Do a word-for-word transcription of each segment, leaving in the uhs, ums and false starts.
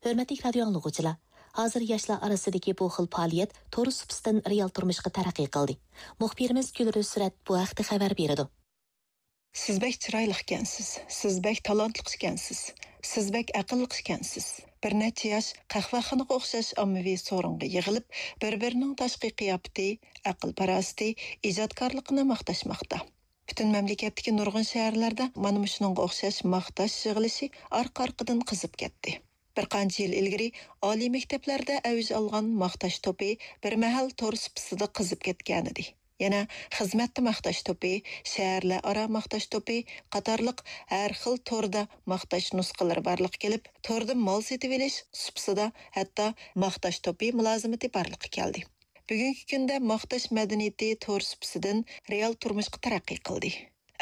ھۆرمەتلىك رادىيو ئاڭلىغۇچىلار، ھازىر ياشلار ئارىسىدىكى بۇ خىل پائالىيەت تور سۇپىسىدىن رېئال تۇرمۇشقا تەرەققىي قىلدى. مۇخبىرىمىز گۈلرۈز سۈرەت بۇ ھەقتە خەۋەر بېرىدۇ. سىز بەك چىرايلىق ئىكەنسىز، سىز بەك تالانتلىق ئىكەنسىز، سىز بەك ئەقىللىق ئىكەنسىز. بىر نەچچە ياش قەھۋەخانىغا ئوخشاش ئاممىۋى سورۇنغا يىغىلىپ، بىر-بىرىنىڭ تاشقى قىياپىتى، ئەقىل-پاراسىتى، ئىجادكارلىقىنى ماختاشماقتا. پۈتۈن مەملىكەتتىكى نۇرغۇن شەھەرلەردە مانا مۇشۇنىڭغا ئوخشاش ماختاش يىغىلىشى ئارقا-ئارقىدىن قىزىپ كەتتى. بىر قانچە يىل ئىلگىرى ئالىي مەكتەپلەردە ئەۋج ئالغان ماختاش توپى بىر مەھەل تور سۇپىسىدا قىزىپ كەتكەنىدى. يەنە خىزمەتتە ماختاش توپى، شەھەرلەر ئارا ماختاش توپى قاتارلىق ھەر خىل توردا ماختاش نۇسخىلىرى بارلىققا كېلىپ، توردا مال سېتىۋېلىش سۇپىسىدا ھەتتا ماختاش توپى مۇلازىمىتى بارلىققا كەلدى. بۈگۈنكى كۈندە ماختاش مەدەنىيىتى تور سۇپىسىدىن رېئال تۇرمۇشقا تەرەققىي قىلدى.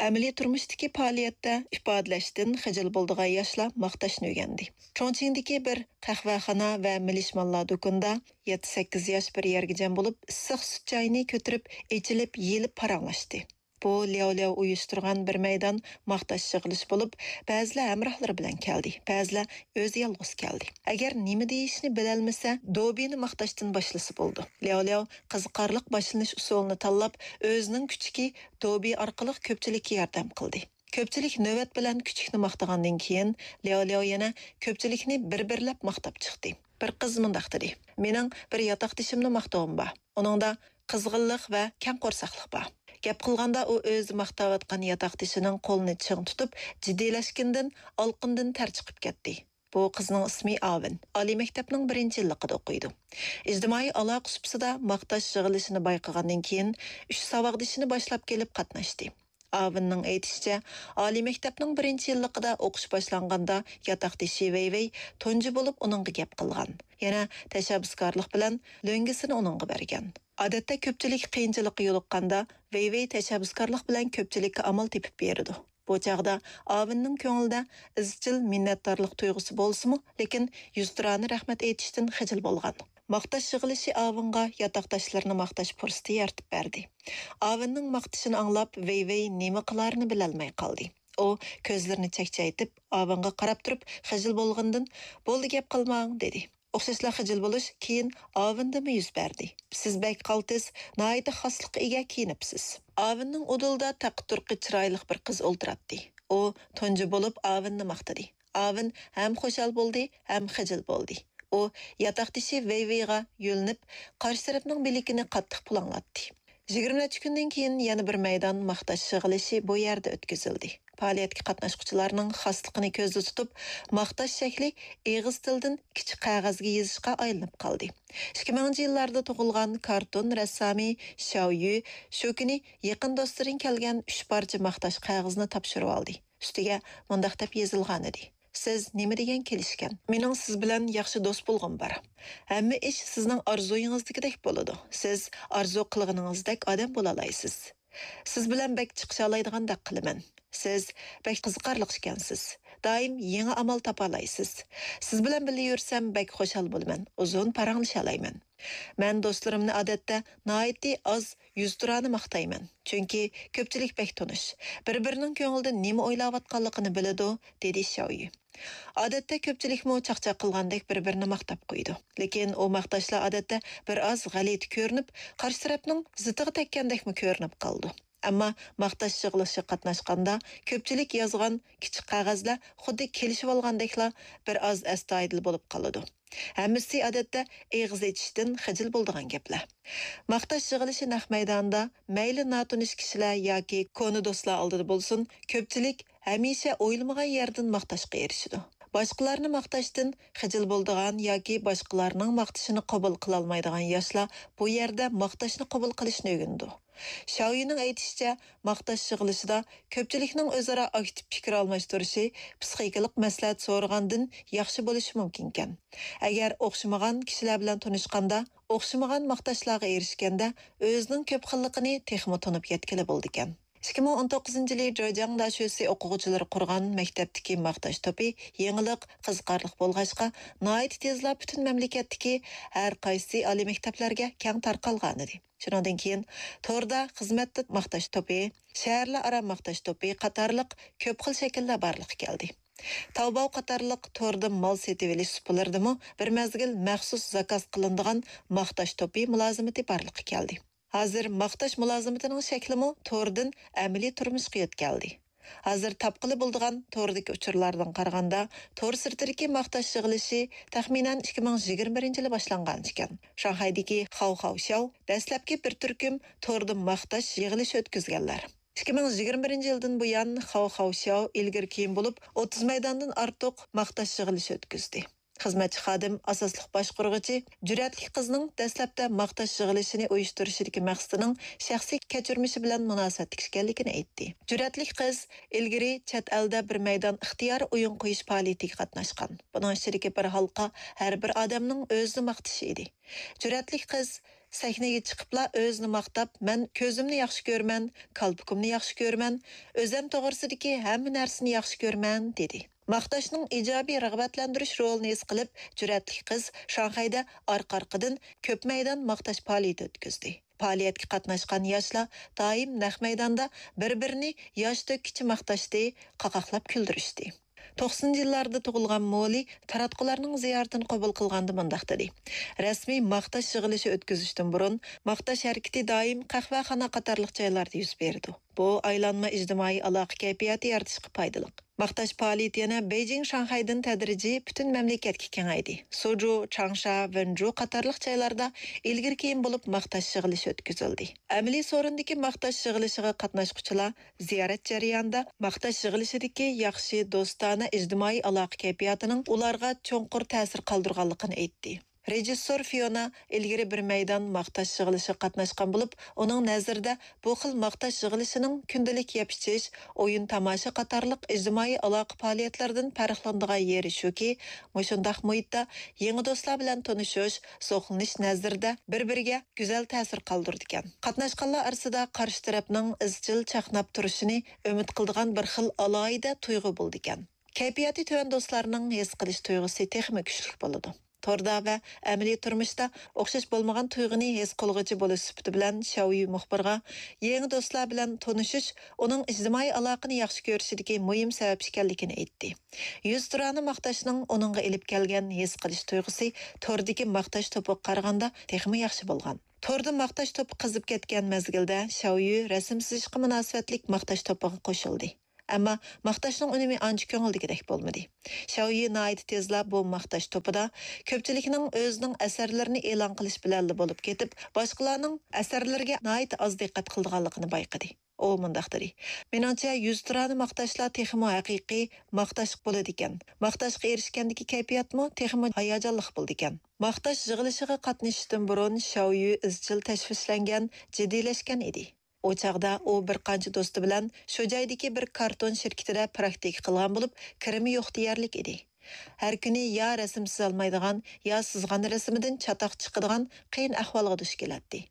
ئەمەلىي تۇرمۇشتىكى پائالىيەتتە ئىپادىلەشتىن خىجىل بولىدىغان ياشلار ماختاشنى ئۆگەندى. چۇڭچىڭدىكى بىر قەھۋەخانا ۋە مېلىشمانلار دۇكىنىدا يەتتە-سەككىز ياش بىر يەرگە جەم بولۇپ، ئىسسىق سۈت چاينى كۆتۈرۈپ، ئېچىلىپ، يېيىلىپ پاراڭلاشتى. بۇ لياۋ لياۋ ئۇيۇشتۇرغان بىر مەيدان ماختاش يىغىلىشى بولۇپ، بەزىلەر ھەمراھلىرى بىلەن كەلدى، بەزىلەر ئۆزى يالغۇز كەلدى. ئەگەر نېمە دېيىشنى بىلەلمىسە، دوبىنى ماختاشتىن باشلىسا بولىدۇ. لياۋ لياۋ قىزىقارلىق باشلىنىش ئۇسۇلىنى تاللاپ، ئۆزىنىڭ كۈچۈكى دوبى ئارقىلىق كۆپچىلىككە ياردەم قىلدى. كۆپچىلىك نۆۋەت بىلەن كۈچۈكنى ماختىغاندىن كېيىن، لياۋ لياۋ يەنە كۆپچىلىكنى بىر-بىرلەپ ماختاپ چىقتى. بىر قىز مۇنداق دېدى: «مېنىڭ بىر ياتاقدىشىمنى ماختىغۇم بار. ئۇنىڭدا قىزغىنلىق ۋە كەڭ قورساقلىق بار.» گەپ قىلغاندا ئۇ ئۆزى ماختاۋاتقان ياتاقدىشىنىڭ قولىنى چىڭ تۇتۇپ، جىددىيلەشكىنىدىن ئالقىندىن تەر چىقىپ كەتتى. بۇ قىزنىڭ ئىسمى ئاۋېن. ئالىي مەكتەپنىڭ بىرىنچى يىللىقىدا ئوقۇيدۇ. ئىجتىمائىي ئالاقە سۇپىسىدا ماختاش يىغىلىشىنى بايقىغاندىن كېيىن، ئۈچ ساۋاقدىشىنى باشلاپ كېلىپ قاتناشتى. ئاۋېننىڭ ئېيتىشىچە، ئالىي مەكتەپنىڭ بىرىنچى يىللىقىدا ئوقۇش باشلانغاندا ياتاقدىشى ۋەي ۋەي تۇنجى بولۇپ ئۇنىڭغا گەپ قىلغان. يەنە تەشەببۇسكارلىق بىلەن لۆڭگىسىنى ئۇنىڭغا بەرگەن. ئادەتتە كۆپچىلىك قىيىنچىلىققا يولۇققاندا، ۋەي ۋەي تەشەببۇسكارلىق بىلەن كۆپچىلىككە ئامال تېپىپ بېرىدۇ. بۇ چاغدا ئاۋېننىڭ كۆڭلىدە ئىزچىل مىننەتدارلىق تۇيغۇسى بولسىمۇ، لېكىن يۈزتۇرانە رەھمەت ئېيتىشتىن خىجىل بولغان. ماختاش يىغىلىشى ئاۋېنغا ياتاقداشلىرىنى ماختاش پۇرسىتى يارىتىپ بەردى. ئاۋېننىڭ ماختىشىنى ئاڭلاپ، ۋەي ۋەي نېمە قىلارىنى بىلەلمەي قالدى. ئۇ كۆزلىرىنى چەكچەيتىپ، ئاۋېنغا قاراپ تۇرۇپ خىجىل بولغىنىدىن: «بولدى، گەپ قىلماڭ» دېدى. ئوخشاشلا خىجىل بولۇش كېيىن ئاۋېندىمۇ يۈز بەردى. «سىز بەك قالتىس، ناھايىتى خاسلىققا ئىگە كىيىنىپسىز.» ئاۋېننىڭ ئۇدۇلىدا تەققە-تۇرقى چىرايلىق بىر قىز ئولتۇراتتى. ئۇ تۇنجى بولۇپ ئاۋېننى ماختىدى. ئاۋېن ھەم خۇشال بولدى، ھەم خىجىل بولدى. ئۇ ياتاقدىشى ۋەي ۋېيغا يۆلىنىپ، قارشى تەرەپنىڭ بىلىكىنى قاتتىق پۇلاڭلاتتى. يىگىرمە نەچچە كۈندىن كېيىن يەنە بىر مەيدان ماختاش يىغىلىشى بۇ يەردە ئۆتكۈزۈلدى. پائالىيەتكە قاتناشقۇچىلارنىڭ خاسلىقىنى كۆزدە تۇتۇپ، ماختاش شەكلى ئېغىز تىلىدىن كىچىك قەغەزگە يېزىشقا ئايلىنىپ قالدى. ئىككى مىڭىنچى يىللاردا تۇغۇلغان كارتون رەسسامى شياۋ يۈ شۇ كۈنى يېقىن دوستلىرىدىن كەلگەن ئۈچ پارچە ماختاش قەغىزىنى تاپشۇرۇۋالدى. ئۈستىگە مۇنداق دەپ يېزىلغانىدى: «سىز نېمە دېگەن كېلىشكەن؟ مېنىڭ سىز بىلەن ياخشى دوست بولغۇم بار. ھەممە ئىش سىزنىڭ ئارزۇيىڭىزدىكىدەك بولىدۇ. سىز ئارزۇ قىلغىنىڭىزدەك ئادەم بولالايسىز. سىز بىلەن بەك چىقىشالايدىغاندەك قىلىمەن. سىز بەك قىزىقارلىق ئىكەنسىز. دائىم يېڭى ئامال تاپالايسىز. سىز بىلەن بىللە يۈرسەم بەك خۇشال بولىمەن، ئۇزۇن پاراڭلىشالايمەن. مەن دوستلىرىمنى ئادەتتە ناھايىتى ئاز يۈزتۇرانە ماختايمەن، چۈنكى كۆپچىلىك بەك تونۇش. بىر-بىرىنىڭ كۆڭلىدە نېمە ئويلاۋاتقانلىقىنى بىلىدۇ» دېدى شياۋ يۈ. ئادەتتە كۆپچىلىكمۇ چاقچاق قىلغاندەك بىر-بىرىنى ماختاپ قويىدۇ. لېكىن ئۇ ماختاشلار ئادەتتە بىر ئاز غەلىتە كۆرۈنۈپ، قارشى تەرەپنىڭ زىتىغا تەگكەندەكمۇ كۆرۈنۈپ قالىدۇ. ئەمما ماختاش يىغىلىشىغا قاتناشقاندا، كۆپچىلىك يازغان كىچىك قەغەزلەر خۇددى كېلىشىۋالغاندەكلا بىر ئاز ئەستايىدىل بولۇپ قالىدۇ. ھەممىسى ئادەتتە ئېغىز ئېچىشتىن خىجىل بولىدىغان گەپلەر. ماختاش يىغىلىشى نەق مەيدانىدا، مەيلى ناتونۇش كىشىلەر ياكى كونا دوستلار ئالدىدا بولسۇن، كۆپچىلىك ھەمىشە ئويلىمىغان يەردىن ماختاشقا ئېرىشىدۇ. باشقىلارنى ماختاشتىن خىجىل بولىدىغان ياكى باشقىلارنىڭ ماختىشىنى قوبۇل قىلالمايدىغان ياشلار بۇ يەردە ماختاشنى قوبۇل قىلىشنى ئۆگىنىدۇ. شاۋيىنىڭ ئېيتىشىچە، ماختاش يىغىلىشىدا كۆپچىلىكنىڭ ئۆزئارا ئاكتىپ پىكىر ئالماشتۇرۇشى پسىخىكىلىق مەسلىھەت سورىغاندىن ياخشى بولۇشى مۇمكىنكەن. ئەگەر ئوخشىمىغان كىشىلەر بىلەن تونۇشقاندا، ئوخشىمىغان ماختاشلارغا ئېرىشكەندە، ئۆزىنىڭ كۆپ خىللىقىنى تېخىمۇ تونۇپ يەتكىلى بولىدىكەن. ئىككى مىڭ ئون توققۇزىنچى يىلى جېجياڭ داشۆسى ئوقۇغۇچىلىرى قۇرغان مەكتەپتىكى ماختاش توپى يېڭىلىق، قىزىقارلىق بولغاچقا، ناھايىتى تېزلا پۈتۈن مەملىكەتتىكى ھەر قايسى ئالىي مەكتەپلەرگە كەڭ تارقالغانىدى. شۇنىڭدىن كېيىن توردا خىزمەتتە ماختاش توپى، شەھەرلەر ئارا ماختاش توپى قاتارلىق كۆپ خىل شەكىللەر بارلىققا كەلدى. تاۋباۋ قاتارلىق توردا مال سېتىۋېلىش سۇپىلىرىدىمۇ بىر مەزگىل مەخسۇس زاكاز قىلىنىدىغان ماختاش توپى مۇلازىمىتى بارلىققا كەلدى. ھازىر ماختاش مۇلازىمىتىنىڭ شەكلىمۇ توردىن ئەمەلىي تۇرمۇشقا يۆتكەلدى. ھازىر تاپقىلى بولىدىغان توردىكى ئۇچۇرلاردىن قارىغاندا، تور سىرتىدىكى ماختاش يىغىلىشى تەخمىنەن ئىككى مىڭ يىگىرمە بىرىنچى يىلى باشلانغان ئىكەن. شاڭخەيدىكى خاۋ خاۋ شياۋ دەسلەپكى بىر تۈركۈم توردا ماختاش يىغىلىشى ئۆتكۈزگەنلەر. ئىككى مىڭ يىگىرمە بىرىنچى يىلدىن بۇيان، خاۋ خاۋ شياۋ ئىلگىرى كېيىن بولۇپ، ئوتتۇز مەيداندىن ئارتۇق ماختاش يىغىلىشى ئۆتكۈزدى. خىزمەتچى خادىم ئاساسلىق باشقۇرغۇچى جۈرئەتلىك قىزنىڭ دەسلەپتە ماختاش يىغىلىشىنى ئۇيۇشتۇرۇشىدىكى مەقسىتىنىڭ شەخسىي كەچۈرمىشى بىلەن مۇناسىۋەتلىك ئىكەنلىكىنى ئېيتتى. جۈرئەتلىك قىز ئىلگىرى چەت ئەلدە بىر مەيدان ئىختىيارىي ئويۇن قويۇش پائالىيىتىگە قاتناشقان. بۇنىڭ ئىچىدىكى بىر ھالقا ھەر بىر ئادەمنىڭ ئۆزىنى ماختىشى ئىدى. جۈرئەتلىك قىز سەھنىگە چىقىپلا ئۆزىنى ماختاپ، «مەن كۆزۈمنى ياخشى كۆرىمەن، كالپۇكۇمنى ياخشى كۆرىمەن، ئۆزەم توغرىسىدىكى ھەممە نەرسىنى ياخشى كۆرىمەن» دېدى. ماختاشنىڭ ئىجابىي رىغبەتلەندۈرۈش رولىنى ھېس قىلىپ، جۈرئەتلىك قىز شاڭخەيدە ئارقا-ئارقىدىن كۆپ مەيدان ماختاش پائالىيىتى ئۆتكۈزدى. پائالىيەتكە قاتناشقان ياشلار دائىم نەق مەيداندا بىر-بىرىنى ياش تۆككىچە ماختاشتى، قاقاقلاپ كۈلدۈرۈشتى. توقسىنىنچى يىللاردا تۇغۇلغان مولى تاراتقۇلارنىڭ زىيارىتىنى قوبۇل قىلغاندا مۇنداق دېدى: «رەسمىي ماختاش يىغىلىشى ئۆتكۈزۈشتىن بۇرۇن، ماختاش ھەرىكىتى دائىم قەھۋەخانا قاتارلىق جايلاردا يۈز بېرىدۇ. بۇ ئايلانما ئىجتىمائىي ئالاقە كەيپىياتى يارىتىشقا پايدىلىق.» ماختاش پائالىيىتى يەنە بېيجىڭ، شاڭخەيدىن تەدرىجىي پۈتۈن مەملىكەتكە كېڭەيدى. سۇجۇ، چاڭشا، ۋېنجۇ قاتارلىق جايلاردا ئىلگىرى كېيىن بولۇپ ماختاش يىغىلىشى ئۆتكۈزۈلدى. ئەمەلىي سورۇندىكى ماختاش يىغىلىشىغا قاتناشقۇچىلار زىيارەت جەريانىدا ماختاش يىغىلىشىدىكى ياخشى دوستانە ئىجتىمائىي ئالاقە كەيپىياتىنىڭ ئۇلارغا چوڭقۇر تەسىر قالدۇرغانلىقىنى ئېيتتى. رېژىسسور فىيونا ئىلگىرى بىر مەيدان ماختاش يىغىلىشىغا قاتناشقان بولۇپ، ئۇنىڭ نەزىرىدە بۇ خىل ماختاش يىغىلىشىنىڭ كۈندىلىك يەپ-ئىچىش، ئويۇن-تاماشا قاتارلىق ئىجتىمائىي ئالاقە پائالىيەتلىرىدىن پەرقلىنىدىغان يېرى شۇكى، مۇشۇنداق مۇھىتتا يېڭى دوستلار بىلەن تونۇشۇش، زوقلىنىش نەزىرىدە بىر-بىرىگە گۈزەل تەسىر قالدۇرىدىكەن. قاتناشقانلار ئارىسىدا قارشى تەرەپنىڭ ئىزچىل چاقناپ تۇرۇشىنى ئۈمىد قىلىدىغان بىر خىل ئالاھىدە تۇيغۇ بولىدىكەن. كەيپىياتى تۆۋەن دوستلارنىڭ ھېس قىلىش تۇيغۇسى تېخىمۇ كۈچلۈك بولىدۇ. توردا ۋە ئەمەلىي تۇرمۇشتا ئوخشاش بولمىغان تۇيغۇنى ھېس قىلغۇچى بولۇش سۈپىتى بىلەن، شياۋيۈ مۇخبىرغا يېڭى دوستلار بىلەن تونۇشۇش ئۇنىڭ ئىجتىمائىي ئالاقىنى ياخشى كۆرۈشىدىكى مۇھىم سەۋەب ئىكەنلىكىنى ئېيتتى. يۈزتۇرانە ماختاشنىڭ ئۇنىڭغا ئېلىپ كەلگەن ھېس قىلىش تۇيغۇسى توردىكى ماختاش توپىغا قارىغاندا تېخىمۇ ياخشى بولغان. توردا ماختاش توپى قىزىپ كەتكەن مەزگىلدە شياۋيۈ رەسىم سىزىشقا مۇناسىۋەتلىك ماختاش توپىغا قوشۇلدى. ئەمما ماختاشنىڭ ئۈنۈمى ئانچە كۆڭۈلدىكىدەك بولمىدى. شياۋيۈ ناھايىتى تېزلا بۇ ماختاش توپىدا كۆپچىلىكنىڭ ئۆزىنىڭ ئەسەرلىرىنى ئېلان قىلىش بىلەنلا بولۇپ كېتىپ، باشقىلارنىڭ ئەسەرلىرىگە ناھايىتى ئاز دىققەت قىلىدىغانلىقىنى بايقىدى. ئۇ مۇنداق دېدى: «مېنىڭچە، يۈزتۇرانە ماختاشلار تېخىمۇ ھەقىقىي ماختاش بولىدىكەن. ماختاشقا ئېرىشكەندىكى كەيپىياتمۇ تېخىمۇ ھاياجانلىق بولىدىكەن.» ماختاش يىغىلىشىغا قاتنىشىشتىن بۇرۇن شياۋيۈ ئىزچىل تەشۋىشلەنگەن، جىددىيلەشكەن ئىدى. ئۇ چاغدا ئۇ بىر قانچە دوستى بىلەن شۇ جايدىكى بىر كارتون شىركىتىدە پراكتىكا قىلغان بولۇپ، كىرىمى يوق دېيەرلىك ئىدى. ھەر كۈنى يا رەسىم سىزالمايدىغان، يا سىزغان رەسىمىدىن چاتاق چىقىدىغان قىيىن ئەھۋالغا دۇچ كېلەتتى.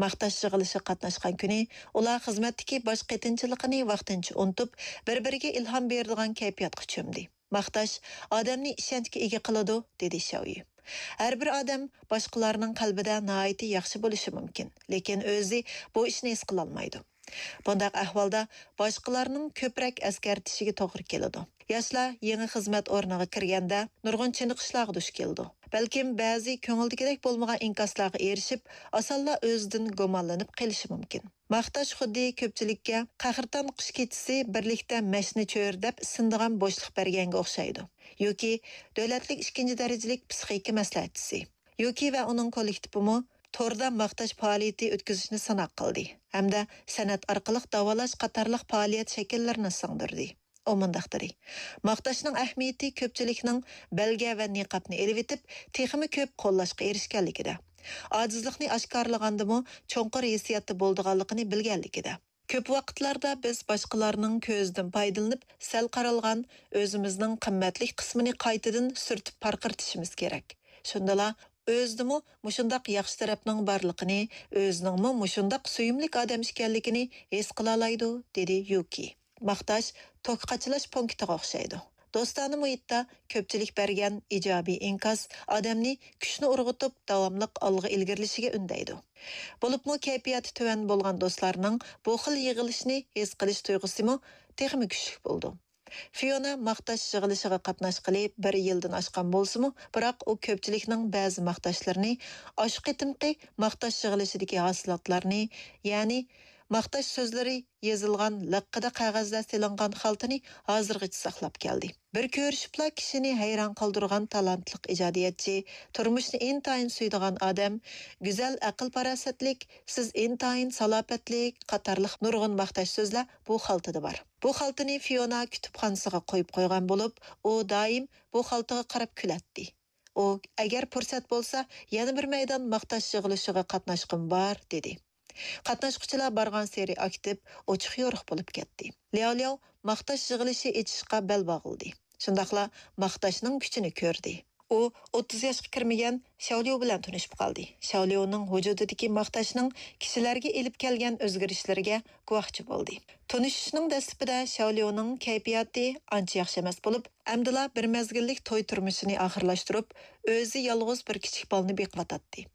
ماختاش يىغىلىشىغا قاتناشقان كۈنى ئۇلار خىزمەتتىكى باش قېتىنچىلىقىنى ۋاقتىنچە ئۇنتۇپ، بىر-بىرىگە ئىلھام بېرىدىغان كەيپىياتقا چۆمدى. «ماختاش ئادەمنى ئىشەنچكە ئىگە قىلىدۇ»، دېدى شياۋيۈ. ھەر بىر ئادەم باشقىلارنىڭ قەلبىدە ناھايىتى ياخشى بولۇشى مۇمكىن، لېكىن ئۆزى بۇ ئىشنى ھېس قىلالمايدۇ. بۇنداق ئەھۋالدا باشقىلارنىڭ كۆپرەك ئەسكەرتىشىگە توغرا كېلىدۇ. ياشلار يېڭى خىزمەت ئورنىغا كىرگەندە نۇرغۇن چېنىقىشلارغا دۇچ كېلىدۇ. بەلكىم بەزى كۆڭۈلدىكىدەك بولمىغان ئىنكاسلارغا ئېرىشىپ، ئاسانلا ئۆزىدىن گۇمانلىنىپ قېلىشى مۇمكىن. ماختاش خۇددى كۆپچىلىككە قەھرىتان قىش كېچىسى بىرلىكتە مەشنە چۆرىدەپ سىنىدىغان بوشلۇق بەرگەنگە ئوخشايدۇ. يۇكى دۆلەتلىك ئىككىنچى دەرىجىلىك پسىخىكا مەسلىھەتچىسى. يۇكى ۋە ئۇنىڭ كوللېكتىپىمۇ توردا ماختاش پائالىيىتى ئۆتكۈزۈشنى سىناق قىلدى ھەمدە سەنئەت ئارقىلىق داۋالاش قاتارلىق پائالىيەت شەكىللىرىنى سىڭدۈردى. ئۇ مۇنداق دېدى: «ماختاشنىڭ ئەھمىيىتى كۆپچىلىكنىڭ بەلگە ۋە نىقابنى ئېلىۋېتىپ، تېخىمۇ كۆپ قوللاشقا ئېرىشكەنلىكىدە، ئاجىزلىقنى ئاشكارىلىغاندىمۇ چوڭقۇر ھېسسىياتتا بولىدىغانلىقىنى بىلگەنلىكىدە. كۆپ ۋاقىتلاردا بىز باشقىلارنىڭ كۆزىدىن پايدىلىنىپ، سەل قارالغان، ئۆزىمىزنىڭ قىممەتلىك قىسمىنى قايتىدىن سۈرتۈپ پارقىرىتىشىمىز كېرەك. شۇندىلا ئۆزىدىمۇ مۇشۇنداق ياخشى تەرەپنىڭ بارلىقىنى، ئۆزىنىڭمۇ مۇشۇنداق سۆيۈملۈك ئادەم ئىكەنلىكىنى ھېس قىلالايدۇ»، دېدى يۇكى. ماختاش توك قاچىلاش پونكىتىغا ئوخشايدۇ. دوستانە مۇھىتتا كۆپچىلىك بەرگەن ئىجابىي ئىنكاس ئادەمنى كۈچنى ئۇرغۇتۇپ، داۋاملىق ئالغا ئىلگىرىلىشىگە ئۈندەيدۇ. بولۇپمۇ كەيپىياتى تۆۋەن بولغان دوستلارنىڭ بۇ خىل يىغىلىشنى ھېس قىلىش تۇيغۇسىمۇ تېخىمۇ كۈچلۈك بولىدۇ. فىيونا ماختاش يىغىلىشىغا قاتناشقىلى بىر يىلدىن ئاشقان بولسىمۇ، بىراق ئۇ كۆپچىلىكنىڭ بەزى ماختاشلىرىنى، ئاشۇ قېتىمقى ماختاش يىغىلىشىدىكى ھاسىلاتلارنى، يەنى ماختاش سۆزلىرى يېزىلغان لىققىدە قەغەزلەر سېلىنغان خالتىنى ھازىرغىچە ساقلاپ كەلدى. بىر كۆرۈشۈپلا كىشىنى ھەيران قالدۇرغان تالانتلىق ئىجادىيەتچى، تۇرمۇشنى ئىنتايىن سۆيىدىغان ئادەم، گۈزەل ئەقىل-پاراسەتلىك، سىز ئىنتايىن سالاپەتلىك قاتارلىق نۇرغۇن ماختاش سۆزلەر بۇ خالتىدا بار. بۇ خالتىنى فىيونا كۇتۇپخانىسىغا قويۇپ قويغان بولۇپ، ئۇ دائىم بۇ خالتىغا قاراپ كۈلەتتى. ئۇ، «ئەگەر پۇرسەت بولسا، يەنە بىر مەيدان ماختاش يىغىلىشىغا قاتناشقۇم بار» دېدى. قاتناشقۇچىلار بارغانسېرى ئاكتىپ، ئوچۇق-يورۇق بولۇپ كەتتى. لياۋ لياۋ ماختاش يىغىلىشى ئېچىشقا بەل باغلىدى. شۇنداقلا ماختاشنىڭ كۈچىنى كۆردى. ئۇ ئوتتۇز ياشقا كىرمىگەن شياۋليۇ بىلەن تونۇشۇپ قالدى. شياۋليۇنىڭ ۋۇجۇدىدىكى ماختاشنىڭ كىشىلەرگە ئېلىپ كەلگەن ئۆزگىرىشلىرىگە گۇۋاھچى بولدى. تونۇشۇشنىڭ دەسلىپىدە شياۋليۇنىڭ كەيپىياتى ئانچە ياخشى ئەمەس بولۇپ، ئەمدىلا بىر مەزگىللىك توي تۇرمۇشىنى ئاخىرلاشتۇرۇپ، ئۆزى يالغۇز بىر كىچىك بالىنى بېقىۋاتاتتى.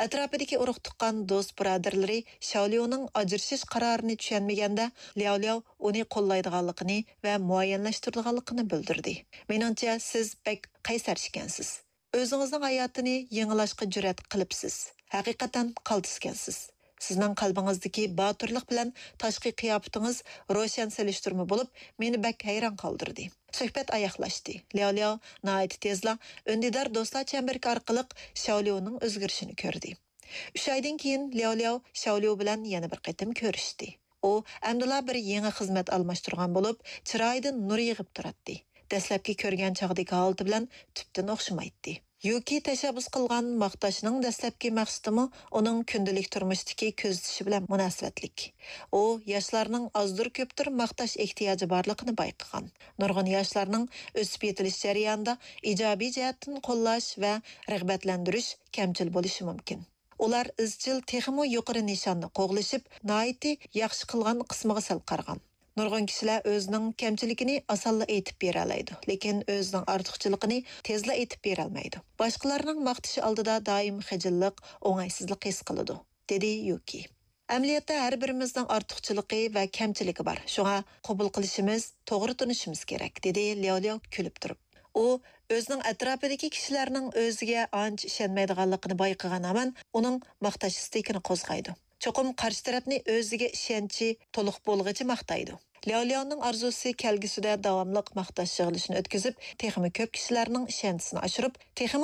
ئەتراپىدىكى ئۇرۇق-تۇغقان، دوست-بۇرادەرلىرى شياۋليۇنىڭ ئاجرىشىش قارارىنى چۈشەنمىگەندە، لياۋ لياۋ ئۇنى قوللايدىغانلىقىنى ۋە مۇئەييەنلەشتۈرىدىغانلىقىنى بىلدۈردى. «مېنىڭچە، سىز بەك قەيسەر ئىكەنسىز. ئۆزىڭىزنىڭ ھاياتىنى يېڭىلاشقا جۈرئەت قىلىپسىز. ھەقىقەتەن قالتىسكەنسىز. سىزنىڭ قەلبىڭىزدىكى باتۇرلۇق بىلەن تاشقى قىياپىتىڭىز روشەن سېلىشتۇرما بولۇپ، مېنى بەك ھەيران قالدۇردى.» سۆھبەت ئاياغلاشتى. لياۋ لياۋ ناھايىتى تېزلا ئۈندىدار دوستلار چەمبىرىكى ئارقىلىق شياۋليۇنىڭ ئۆزگىرىشىنى كۆردى. ئۈچ ئايدىن كېيىن لياۋ لياۋ شياۋليۇ بىلەن يەنە بىر قېتىم كۆرۈشتى. ئۇ ئەمدىلا بىر يېڭى خىزمەت ئالماشتۇرغان بولۇپ، چىرايىدىن نۇر يېغىپ تۇراتتى. دەسلەپكى كۆرگەن چاغدىكى ھالىتى بىلەن تۈپتىن ئوخشىمايتتى. يۇكى تەشەببۇس قىلغان ماختاشنىڭ دەسلەپكى مەقسىتىمۇ ئۇنىڭ كۈندىلىك تۇرمۇشتىكى كۆزىتىشى بىلەن مۇناسىۋەتلىك. ئۇ ياشلارنىڭ ئازدۇر-كۆپتۇر ماختاش ئېھتىياجى بارلىقىنى بايقىغان. نۇرغۇن ياشلارنىڭ ئۆسۈپ يېتىلىش جەريانىدا ئىجابىي جەھەتتىن قوللاش ۋە رىغبەتلەندۈرۈش كەمچىل بولۇشى مۇمكىن. ئۇلار ئىزچىل تېخىمۇ يۇقىرى نىشاننى قوغلىشىپ، ناھايىتى ياخشى قىلغان قىسمىغا سەل قارىغان. نۇرغۇن كىشىلەر ئۆزىنىڭ كەمچىلىكىنى ئاسانلا ئېيتىپ بېرەلەيدۇ، لېكىن ئۆزىنىڭ ئارتۇقچىلىقىنى تېزلا ئېيتىپ بېرەلمەيدۇ. باشقىلارنىڭ ماختىشى ئالدىدا دائىم خىجىللىق، ئوڭايسىزلىق ھېس قىلىدۇ، دېدى يۇكى. ئەمەلىيەتتە ھەر بىرىمىزنىڭ ئارتۇقچىلىقى ۋە كەمچىلىكى بار. شۇڭا قوبۇل قىلىشىمىز، توغرا تونۇشىمىز كېرەك، دېدى لياۋ لياۋ كۈلۈپ تۇرۇپ. ئۇ ئۆزىنىڭ ئەتراپىدىكى كىشىلەرنىڭ ئۆزىگە ئانچە ئىشەنمەيدىغانلىقىنى بايقىغان ھامان ئۇنىڭ ماختاش ئىستىكىنى قوزغايدۇ. چوقۇم قارشى تەرەپنى ئۆزىگە ئىشەنچى تولۇق بولغىچە ماختايدۇ. لياۋ لياۋنىڭ ئارزۇسى كەلگۈسىدە داۋاملىق ماختاش يىغىلىشىنى ئۆتكۈزۈپ، تېخىمۇ كۆپ كىشىلەرنىڭ ئىشەنچىسىنى ئاشۇرۇپ، تېخىمۇ